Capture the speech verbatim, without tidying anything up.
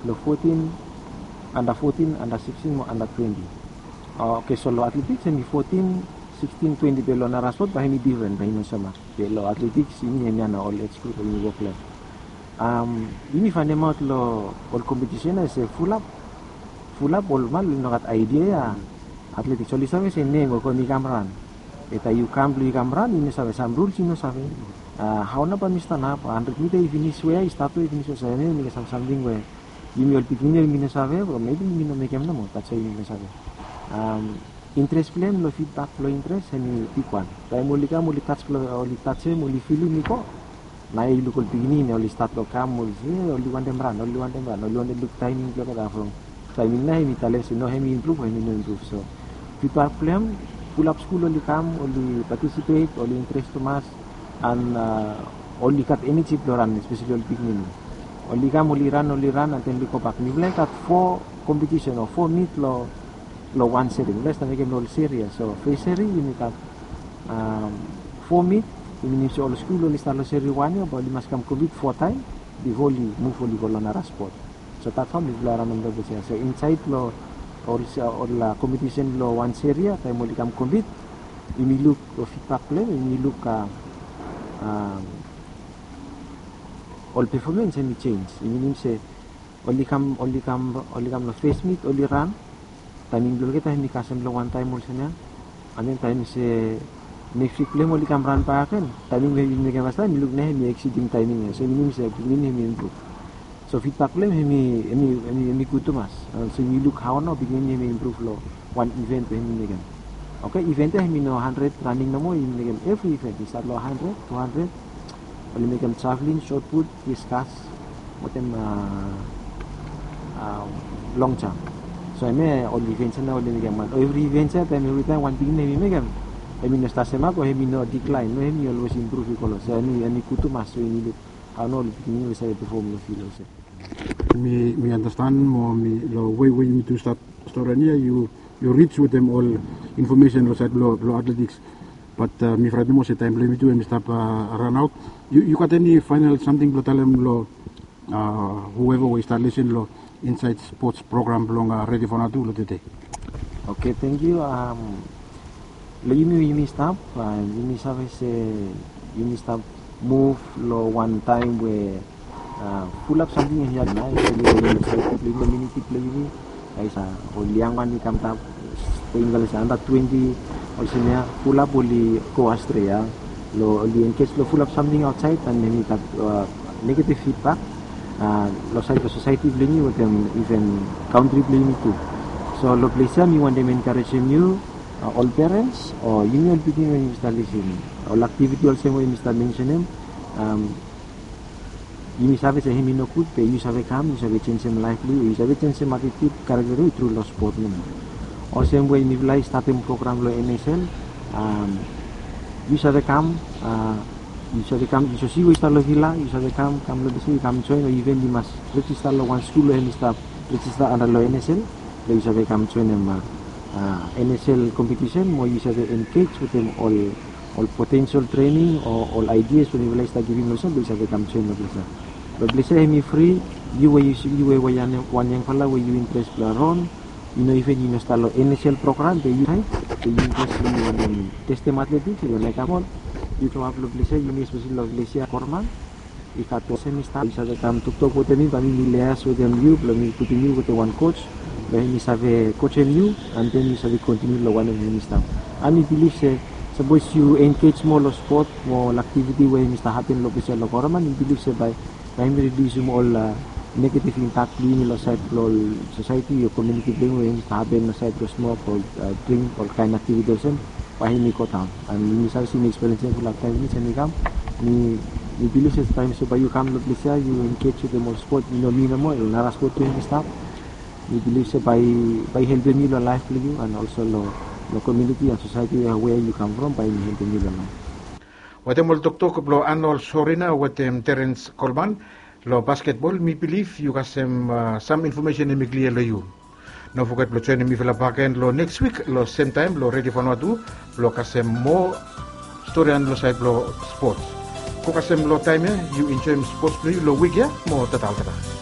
Lo fotin, anda fotin, anda siksin mo anda twenti. Oke, so lo atletiks hemi fotin, siksin, twenti, be lo nara spot bae hemi difren, bae i no sama. Be lo atletiks yumi hemia nao ol ej grup we yumi wok lo hem. Yumi faenemaot lo ol kompetisen ia se fulap, fulap ol man oli no gat aedia ia atletiks, oli save se nem we yu kam ran. Be taem yu kam blo yu kam ran, yu no save sam ruls, yu no save hao nao bae mi stanap, handred mita i finis we i stat we i finis we, so hemia hemi kam sam samting we yumi ol pikinini yumi no save, o maybe yumi no mekem nomo, that's why yumi no save. Intres blo hem, lo fidbak blo intres hemi bigwan. Taem oli kam oli tas, oli tasem, oli filim i go, naoia yu luk ol pikinini oli stat lo kam, oli se oli wantem ran, oli wantem ran, oli wantem luk taeming blo olgeta from taeming nao hemi talem se no, hemi impruv o hemi no impruv. So fidbak blo hem, fulap skul oli kam, oli patisipet, oli intres tumas, and oli gat eneji blo ran, espeseli ol pikinini. Oli kam oli ran, oli ran, and then oli gobak. Mifala i gat fo kompetisen o fo mit lo, lo wan seri. Mifala i stap mekem lo ol seri ia. So fes seri yumi gat fo mit, i minim se ol skul oli stap lo seri wan ia bae oli mas kam kompit fo taem bifo oli muv oli go lo nara spot. So that's how mifala i ranem lo fes ia. So insaed lo ol, ol kompetisen blo wan seri ia, taem oli kam kompit, yumi luk lo fidbak blo hem, yumi luk ol pefomans hemi jenis. I minim se oli kam, oli kam, oli kam lo fes mit oli ran, taeming blo olgeta hemi kasem lo wan taem olsem ia. And then taem se neks wik blo hem oli kam ran bakegen, taeming we yumi mekem fastaem, yumi luk nao hemi eksiding taeming ia. So i minim se pikinini hemi impruv. So fidbak blo hem hemi, hemi, hemi gud tumas. So yumi luk hao nao pikinini hemi impruv lo wan iven we hemi mekem. Oke, iven ia hemi no handred raning nomo, yumi mekem evri iven. I stat lo handred, tu handred, oli mekem javelin, shot put, diskas, wetem long jump. So hemia ol iven ia nao oli mekem. Evri iven ia, taem, evritaem wan pikinini hemi mekem, hemi no stap sem o hemi no diklaen, no, hemi olwes impruv i go lo. So hemi, hemi gud tumas, so yumi luk hao nao ol pikinini oli save pefom lo fil olsem. Mi, mi andastan mo mi, lo wei we yumi tu stat stori ia, yu, yu rij wetem ol infomesen lo saed blo, blo atletiks. Bat mi fraet nomo se taem blo yumi tu hemi stap ranaot. Yu, yu gat eni faenol samting blo talem lo whoever we i stap lisin lo insaed spots program blong Redi Vanuatu lo tede? Oke, tangkiu. Lo yumi we yumi stap, yumi save se yumi stap muv lo wan taem we fulap samting hemi nao, espeseli lo kominiti blo yumi. Guys, ol yangwan i kam stap, taem blo se anda twenti olsem ia, fulap oli go astrea. Lo oli engej lo fulap samting aotsaed, and hemi gat negativ fidbak lo saed blo sosaeti blo yumi wetem iven kantri blo yumi tu. So lo ples ia mi wantem enkarejem yu, ol perens o yumi ol pikinini we yumi stap lisin, ol aktiviti olsem we yumi stap mensenem, yumi save se hemi nogud, be yu save kam, yu save jenjem laef blo yu, yu save jenjem atitut, karakta blo yu tru lo spot nomo. Olsem we mifala i statem program lo N S L, yu save kam, yu save kam, yu save si we yu stap lo vila, yu save kam, kam lo ples ia, yu kam joen, o iven yu mas rejista lo wan skul we hemi stap rejista anda lo N S L, blo yu save kam joenem N S L kompetisen, mo yu save engej wetem ol, ol potensel trening o ol aedias we mifala i stap givim olsem, blo yu save kam joen lo ples ia. Lo ples ia hemi fri. Yu we yu, yu we wan yangfala we yu intres blo ran, yu no iven yu no stap lo N S L program, be yu taem, be yu intres, yu wantem testem atletiks, yu laek kam ol, yu kemap lo ples ia, yumi espeseli lo ples ia Korman. I gat olsem i stap, yu save kam toktok wetem mi, bae mi, mi liaes wetem yu, blo mi putum yu wetem wan koj, blo hemi save kojem yu, and then yu save kontiniu lo wanem hemi stap. And mi bilif se sapos yu engej moa lo spot mo ol aktiviti we hemi stap hapen lo ples ia lo Korman, mi bilif se bae, bae hemi ridiusum ol negativ impak blo yumi lo saed blo ol sosaeti o kominiti blo yumi we hemi stap hapen lo saed blo smok o dring ol kaen aktiviti olsem, bae hemi go daon. And mi save se mi ekspiriens ia fulap taem finis hemi kam. Mi, mi bilif se taem so bae yu kam lo ples ia, yu engej wetem ol spot, i no mi nomo, ol nara spot tu hemi stap. Mi bilif se bae, bae i helpem yu lo laef blo yu, and also lo, lo kominiti and sosaeti we yu kam from, bae hemi helpem yu lo laef. Wetem ol toktok blo Arnold Sorina wetem Terence Coleman lo basketbol, mi bilif yu kasem sam infomesen hemi klia lo yu. No foget blo joenem mifala bakegen lo neks wik lo sem taem blo Redi Vanuatu blo kasem moa storian lo saed blo spots. Go kasem lo taem ia, yu enjoem spots blo yu lo wik ia, mo tata olgeta.